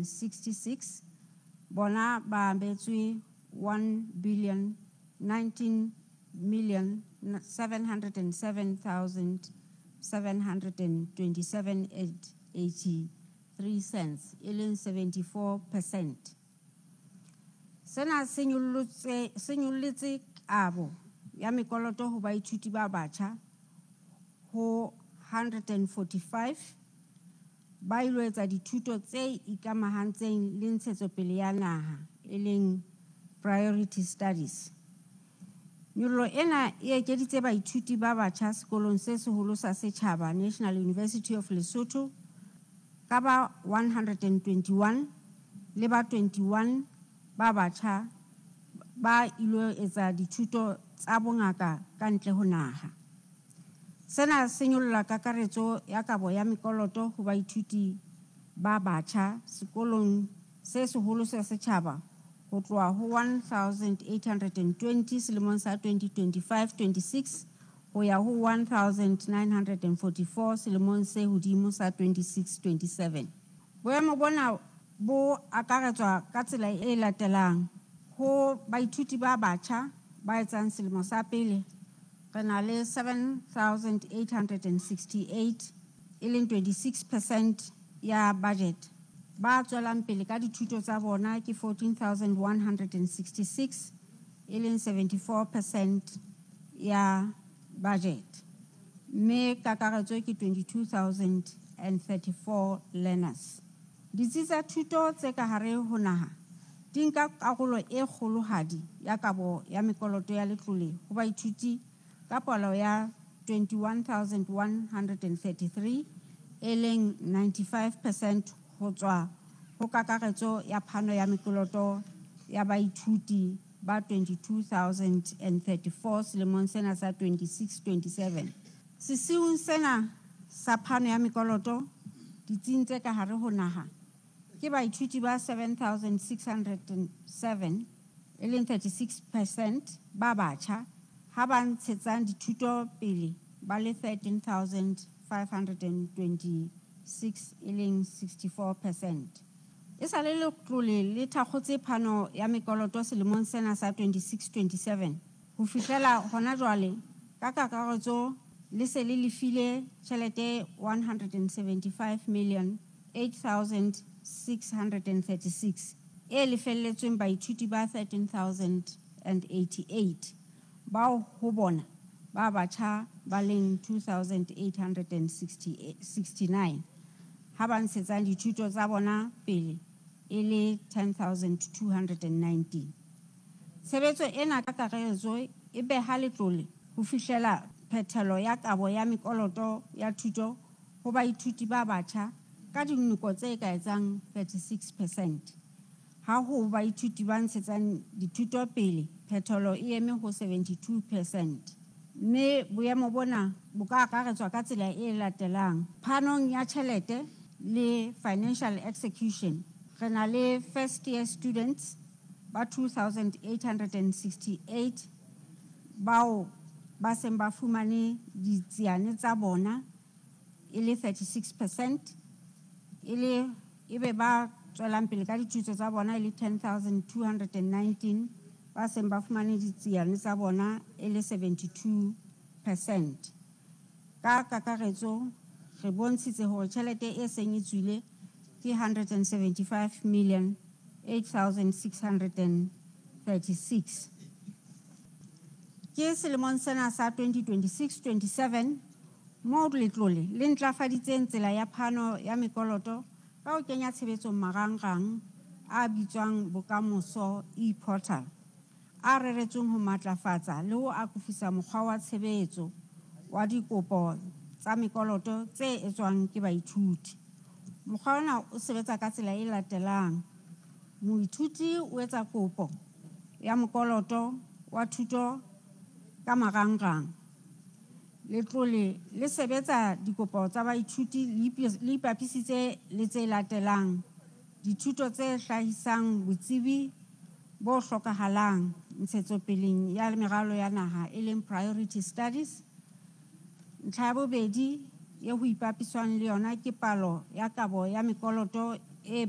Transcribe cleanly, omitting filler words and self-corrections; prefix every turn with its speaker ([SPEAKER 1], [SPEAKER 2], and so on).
[SPEAKER 1] 66 bona ba abetswe 1 billion 19 million 707 727 83 cents, e leng 74%. Sena se nyollotse kabo ya mekoloto ho baithuti ba batjha ho 145 ba ilo etsa dithuto tse ikamahantseng le ntshetsopele ya naha, e leng priority studies. Nyollo ena e ekeditse baithuti ba batjha sekolong se seholo sa setjhaba National University of Lesotho ka ba 121 le ba 21 ba batjha ba ilo etsa dithuto tsa bongaka ka ntle ho naha. Sena se nyolla kakaretso ya kabo ya mekoloto ho baithuti ba batjha sekolong se seholo sa setjhaba ho tloha ho 1820 selemong sa 2025-26 ho ya ho 1944 selemong se hodimo sa 26-27. Boemo bona bo akaretswa ka tsela e latelang: ho baithuti ba batjha ba etsang selemo sa pele re na le 7868, e leng 26% ya budget. Ba tswelang pele ka dithuto tsa bona ke 14166, e leng 74% ya budget, mme kakaretso ke 22,034 learners. Ditsi tsa thuto tse ka hare ho naha di nka karolo e kgolohadi ya kabo ya mekoloto ya letlole ho baithuti ka palo ya 21,133, e leng 95% ho tswa ho kakaretso ya phano ya mekoloto ya baithuti ba 22,034 selemong sena sa 26-27. Sesiung sena sa phano ya mekoloto ditsing tse ka hare ho naha ke baithuti ba 7607, e leng 36% ba batjha, ha ba ntshetsang dithuto pele ba le 13,526, e leng 64%. Esale letlole le thakgotse phano ya mekoloto selemong sena sa 26-27 ho fihlela hona jwale, ka kakaretso le se le lefile tjhelete 175 million 8,636 e lefelletsweng baithuti ba 13,088, bao ho bona ba batjha ba leng 2,869, ha ba ntshetsang dithuto tsa bona pele e le 10,219. Tshebetso ena ka kakaretso e beha letlole ho fihlela phethelo ya kabo ya mekoloto ya thuto ho baithuti ba batjha ka dinoko tse ka etsang 36%. Ha ho baithuti ba ntshetsang dithuto pele phethelo e eme ho 72%. Mme boemo bona bo ka akaretswa ka tsela e latelang: phanong ya tjhelete le financial execution, re na le first year students ba 2868 bao ba seng ba fumane ditsiane tsa bona, e le 36%, e le ebe ba tswelang pele ka dithuto tsa bona e le 10,219, ba seng ba fumane ditsiane tsa bona e le 72%. Ka kakaretso re bontshitse hore tjhelete e seng e tswile ke 175 million 8,636. Ke selemong sena sa 2026-27 moo letlole le ntlafaditseng tsela ya phano ya mekoloto ka ho kenya tshebetsong marangrang a bitswang Bokamoso e-portal, a reretsweng ho matlafatsa le ho akofisa mokgwa wa tshebetso wa dikopo tsa mekoloto tse etswang ke baithuti. Mokgwa ona o sebetsa ka tsela e latelang: moithuti o etsa kopo ya mokoloto wa thuto ka marangrang. Letlole le sebetsa dikopo tsa baithuti le ipapisitse le tse latelang: dithuto tse hlahisang botsebi bo hlokahalang ntshetsopeleng ya meralo ya naha, e leng priority studies. Ntlha ya bobedi e ho ipapiswang le yona ke palo ya kabo ya mekoloto e